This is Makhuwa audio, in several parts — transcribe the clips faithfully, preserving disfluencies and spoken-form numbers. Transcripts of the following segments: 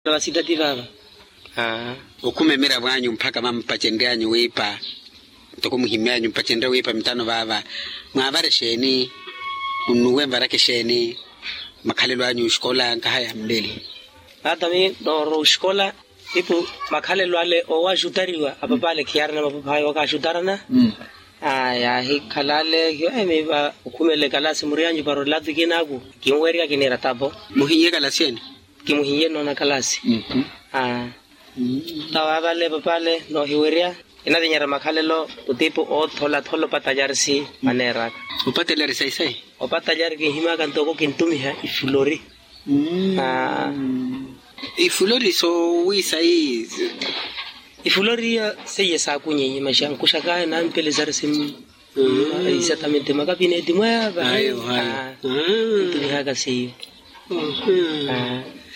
Vasitati vaava. Okhuma emiravo anyu mpakha vampacenryanyu wiipa, ntoko muhimme anyu mpacenrye wiipa mitano vaava, mwaavara exeeni? Munnuwe nvaraka exeeni? Makhalelo anyu oxikola nkaha ya muleli. Taata mi nooro oxikola, ipu makhalelo ale owaxutariwa apapale khiyaarina mapaphayi wakaxutarana. Aya ahikhala ale hiyo emiva okhumela ekalasi muriyanyu para olatu kinaaku. Kinwerya kiniira tapo. Muhinye ekalasi ene? Kimuhinye noona kalasi. Tawa vale papale noohiwerya. Kinavinyerya makhalelo kutipu ootholathola opatayarisi. Maneeraka opatayarisi? Aisai opatayari kinhimaka ntoko kintumiha ifulori. Ifulori soowiisai? Ifulori iyo seiye saakunyeiye maxankuxaka nampelezarisi. Exatamente makapineti mwaava. Ayo ayo. Ntumihaka seiyo.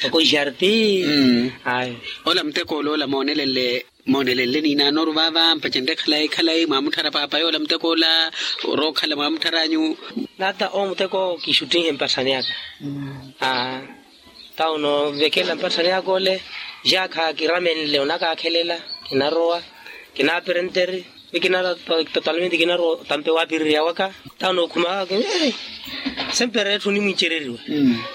Toko jarti. Ayo. Ola muteko ola ola moonelenle moonelenle niinaanoru vaava mpacenrye khalayi khalayi mwaamutthara paapa yoola muteko ola? Orookhala mwaamutthara anyu? Nata omuteko kixuttinhe mpatthani aka. Tawo noovekela mpatthani aka ole. Jaakha kiramenle onakaakhelela. Kinarowa kinaaperenteri. Wi kinara totalmente kinara otampe waapirirya waka. Tawo nookhuma waka. Sempre etthu onimwincereriwa.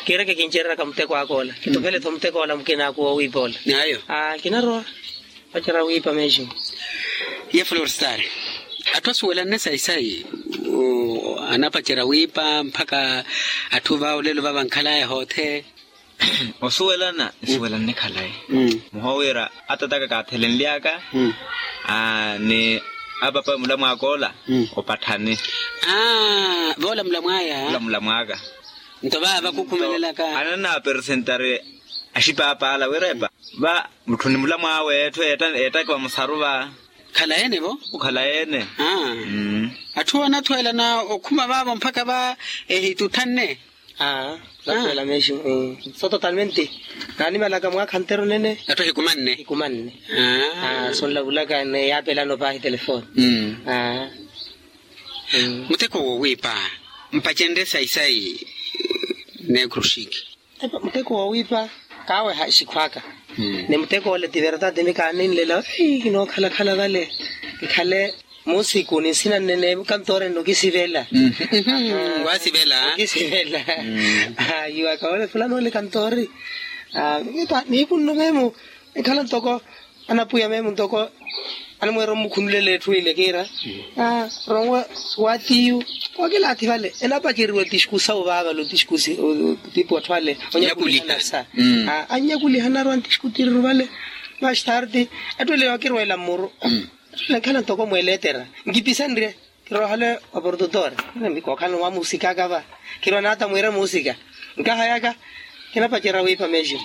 Kiireke kincereraka muteko aka ola kitopele-tho muteko ola mukina aka woowiipa ola. Kinarowa. Pacerya wiipa mexico. Ye florstar, atthu asuwelanne sayi-sayi anapacerya wiipa mpakha atthu va olelo vava nkhalaya hoothe. Osuwelana nsuwelanne khalayi. Muhoowira atataka kaathelenlyaka ni apapa mulamwaka ola. Opatthani. Voola mulamwaya. Ola mulamwaka. Nto vava kukhumelelaka ananaperesentari axipaapaala wira epa va mutthu ni mulamwawe etthu eettakiwa musaru va. Khalayeene vo. Okhalayeene. Atthu anathweelana okhuma vaavo mpakha va ehitutthanne. Aa. Nathweela mexico. So totalmente. Naanimalaka mwaakha nteru nene. Atthu ahikumanne. Ahikumanne. Sonlavulaka ne yaapelano paahi telefoni. Muteko woowiipa mpacenrye sayi-sayi. Neekruxiki. Muteko woowiipa kaaweha xikhwaka. Ni muteko ole ti verdade mi kaaninlela. Kinookhala-khala vale. Kikhale musiku ni nsina nnene kantoori nno kisivela. Nokisivela. Ayiwaka ole fulani ole kantoori. Niipunno meemu. Ekhala ntoko anapwiya meemu ntoko animweera omukhunulela etthu ile kiira. Rowa waatiyu. Wakilaathi vale enapaceriwa tiskusa ovavale otiskusi. Tipu atthu ale onyakuliha. Anyakuliha narowa ntiskutiriru vale. Mas tardi atthu ele wakirweela mmuru. Atthu ele nkhala ntoko mweletera nkipisenrye. Kirohale oportutor. Kookhala ni wamusikaka va. Kirowa nata mwiire muusika. Nkahayaka kinapacerya wiipa mexico.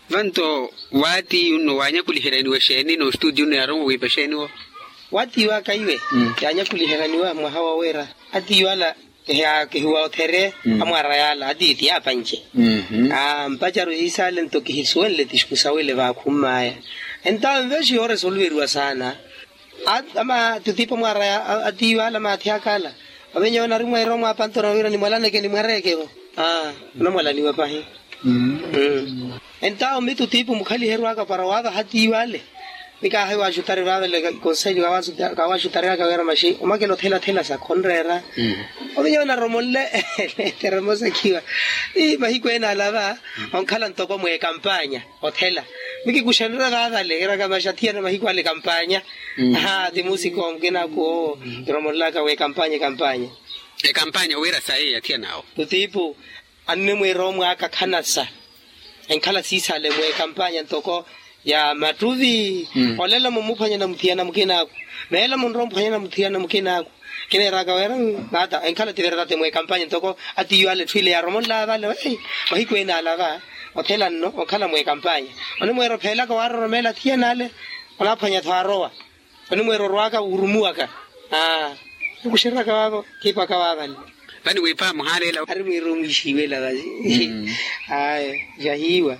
Vanto waatiyu nno waanyakuliheryaniwa exeeni n'ostudio nno yaarowa wiipa exeeni wo. Waatiyu aka iwe yaanyakuliheryaniwa mwaha wa wira atiyu ala kihiwootheriye. Amwaara yaala atiyu ti yaapanci. Mpacaru yiisale nto kihisuwenle tiskusa wile vaakhummaya. Entawo nvexiyo oresolveriwa saana. Ama tutipo mwaaraya atiiwala maathi akala. Ovenyewe onari mweera omwapanto na wira nimwalaneke nimwareeke vo. Onamwalaniwa pahi. Entawo mi tutipo mukhaliherwaka para waavaha atiiwale. Nikaahayi waxutari vaavele konseli kawaxutaryaka wira maxi omakela othela-thela sa khonreera. Ovenyewe onaromonle. Teremosakhiwa. Mahiku ene alava onkhala ntoko mwekampanya. Othela. Mikikuxanira vaavale eraka maxathiyana mahiku ale ekampanya. Aha ti musiko mukinaku owo. Kiromonlaka w'ekampanya ekampanya. Ekampanya wira sayi athiyan'awo. Tutipu anne mwiira omwaaka khanasa. Enkhala siisale mw'ekampanya ntoko ya mattuvi. Olela mumuphwanya na muthiyana mukinaku. Meela munrowa omuphwanya na muthiyana mukinaku. Kineeraka wira nata enkhala ti verdade mw'ekampanya ntoko atiyu ale etthu ile yaaromonlaya vale. Mahiku ene alava othela nno onkhala mw'ekampanya. Onimweera opheelaka waaroromeela athiyana ale. Onaaphwanya-tho arowa. Onimweera orwaaka wuurumuwaka. Nikuxereryaka waavo kiipaka waavale. Vani wiipa muhaaleela. Ari mwiira omwiixiwela vasi. Aya. Jahiiwa.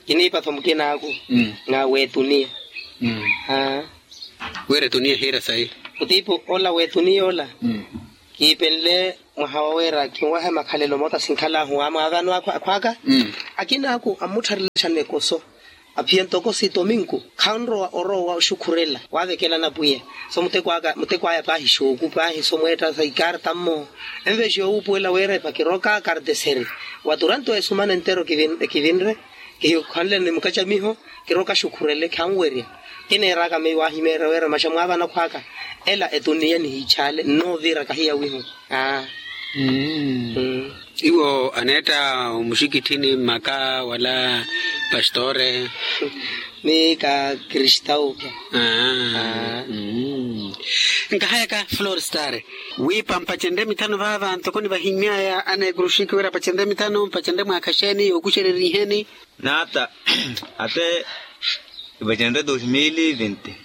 Kiniipa-tho mukinaaku. Nga weetuniya. Wira etuniya ehiira sayi. Kutiipu ola weetuniya ola. Kiipenle mwaha waweera kinwahe makhalelo moota sinkhal'ahu amwaavano akhw'aka. Akin'aku ammuttharelexani ekoso. Aphiya ntoko si tominku khanrowa orowa oxukhurela waavekelana pwiya. So muteko aya paahi xooku paahi so mweetta sa ikarta mmo. Envexi yowuupuwela weerepa kiroka karteseri. Waturanto esumana entero kivinre. Kihikhanle ni mukacamiho kiroka xukhurele khanwerya. Kineeraka meiwa ahimeerya weera maxa mwaavana khwaka. Ela etuniya nihichaale nnoovira kahiya wihu. Aa. Iwo aneetta omuxikitthini mmaka wala pastore? Ni ka kristau. Nkahayaka florstar wiipa mpacenrye mithanu vaava ntoko nivahimy'aya aneekuru xinki wira apacenrye mithanu mpacenrye mwaakha xeeni yookuxereriheni. Naata ate kipacenrye dos mil e vinte.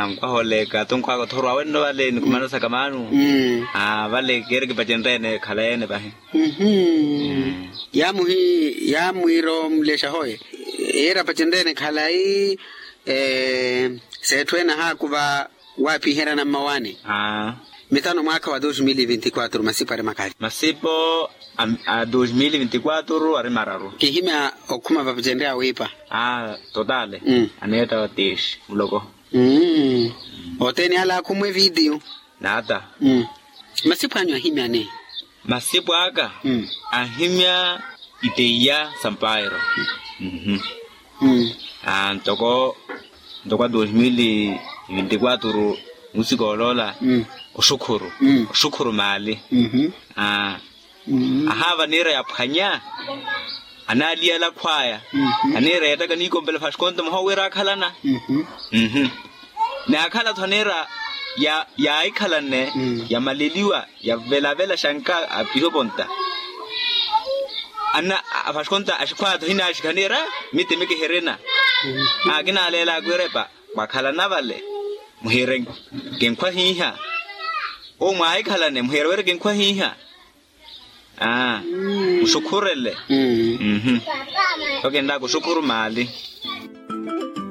Nkwahooleka tonkhwaaka othorwa wenno vale nikhumana saka maanu. Vale keeri kipacenrye-ene khalayi-ene vahi. Yaamuhi yaamwiira omulexa hoye. Yeeri apacenrye-ene khalayi. Seetthu ene ahaakuva waapiherana mmawaani. Mithanu mwaakha wa dos mil e vinte e quatro masipo ari makali. Masipo a dos mil e vinte e quatro ari mararu. Kihimya okhuma vapacenrye awiipa. Totale. Aneetta wa tixi muloko. Othene ala akhumwe vitiyo. Naata. Masipo anyu ahimyani? Masipo aka ahimya iteiya sampairo. Ntoko ntoko a dos mil e vinte e quatro musiko oloola oxukhuru oxukhuru maali. Ahaava aniira yaphwanya anaaliyala khwaya. Aniira yeettaka niikompela fashkonto mwaha owiira akhalana. Naakhala-tho aniira yaahikhalanne yamaleliwa yavelavela xanka apihoponta. Anna afashkonta axikhwaya-tho hinaaxikha aniira mitimi kihirina. Akinaaleelaka wiirepa mwakhalana vale muhiire kinkhwa hiiha. Owo mwaahikhalane muhiire wiire kinkhwa hiiha. Aa. Muxukhurele. Mmm. Tho kinlaaka oxukhuru maali.